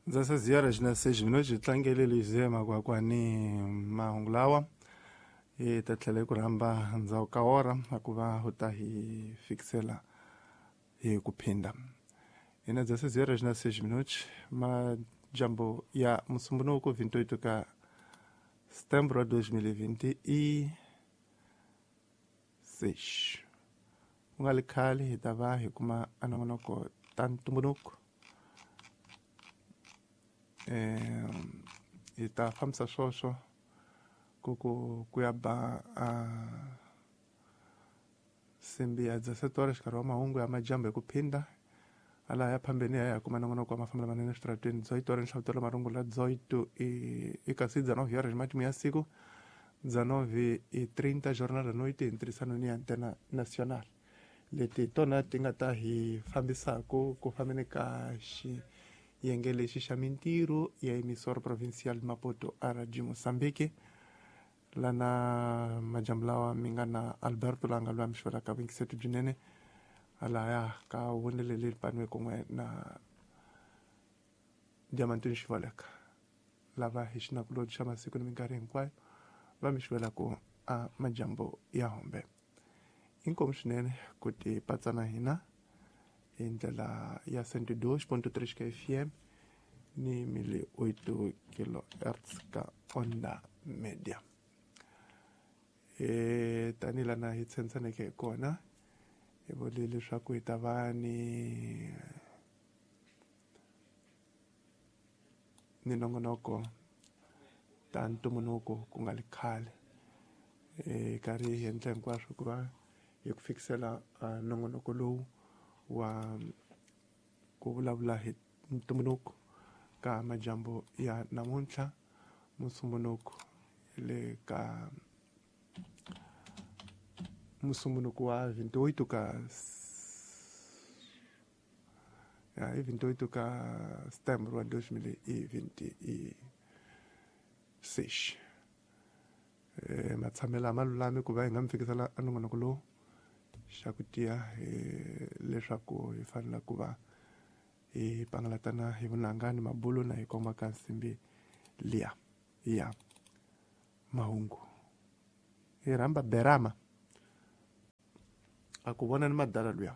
Ndza ziyara xi na seji mino xi tlangele lexi makwakwani mahungu lawa hi ta tlhela hi ku rhamba ndzhaku ka ora a ku va u ta hi fikisela hi ku phinda ina dza ziyara xi na seji minuti majambo ya musumbunuku 28 ka setembro 2026 ku nga li khale hi ta va hi kuma anongonoko ta ntumbuluko. Hi ta fambisa swoswo ku ya ba nsimbi ya 17 xikarhi wa mahungu ya majambu hi ku phinda ala ya phambeni ya kuma nongonoko wa mafambelo manene eswitarateni 18 horas nhlavutelo marungula 18 i kasi 19 horas matimu ya siku 19:30 jornal da noite hi ntirhisano ni Antena Nacional leti tona ti nga ta hi fambisaku ku fambeni ka xiyenge lexi xa mintirho ya emisora provincial Maputo RG Mozambique lana majambu lawa mi nga na Alberto la nga lwa mixolaka vuyingiseti byinene alaya ka vonele leri paniwe kun'we na Diamantini Xivaleka lava hi xinakulobye xa masiku ni minkarhi hinkwayo va mi xivelaka a majambu ya hombe. Inkomu swinene ku ti patsa na hina hi ndlela ya 102.3 ka FM ni 1008 kilohertz ka Onda Media. Tanihi lana hi tshembisaneke hi kona hi vule leswaku hi ta va ni nongonoko ta ntumbuluko ku nga li khale hi karhi hi endla hinkwaswo ku va hi ku fikisela nongonoko lowu wa ku vulavula hi ntumbuluko ka majambu ya namuntlha musumbunuko le ka musumbunuko wa 28 ka ya hi 28 ka setembro wa 2026. Matshamelo ma lulami ku va hi nga mi fikisela a nongonoko lowu xa ku tiya leswaku hi fanele ku va hi pangalatana hi vunanga ni mabulo na hi komba ka nsimbi liya ya mahungu. Hi rhamba Berama a ku vona ni madala luya.